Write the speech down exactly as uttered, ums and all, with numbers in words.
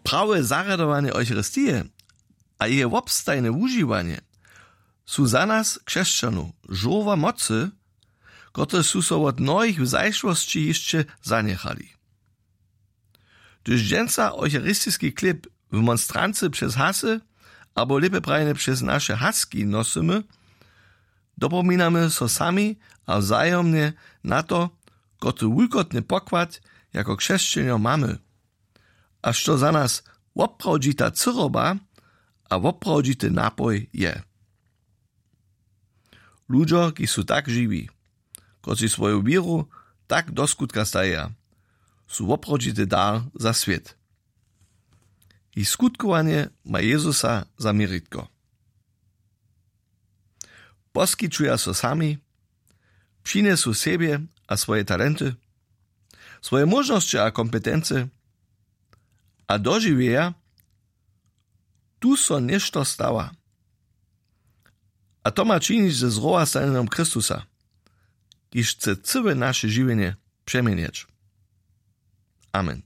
Prawe zarjadowanje Eucharistije a jeje wobstajne wužiwanje su za nas, křesćanow, žórła mocy, kotrež su so wot mnohich w zašłosći hišće zanjechali. Hdyž dźensa eucharistiski chlěb w monstrancy přez hasy, abo lěpje prajene přez naše haski nosymy, dopominamy so sami a wzajomnje na to, kotry wulkotny pokład jako křesćenjo mamy a što za nas woprawdźita cyroba a woprawdźity napoj je. Ludźo, kiž su tak žiwi, kotřiž swoju wěru tak do skutka stajeja, su woprawdźity dar za swět. Jich skutkowanje ma Jezusa za měritko. Poskićuja so sami, přinjesu sebje a swoje talenty, swoje móžnosće a kompetency a dožiwjeja, tu so něšto stawa. A to ma činić ze zrowastanjenom Chrystusa, kiž chce cyłe naše žiwjenje přeměnjeć. Amen.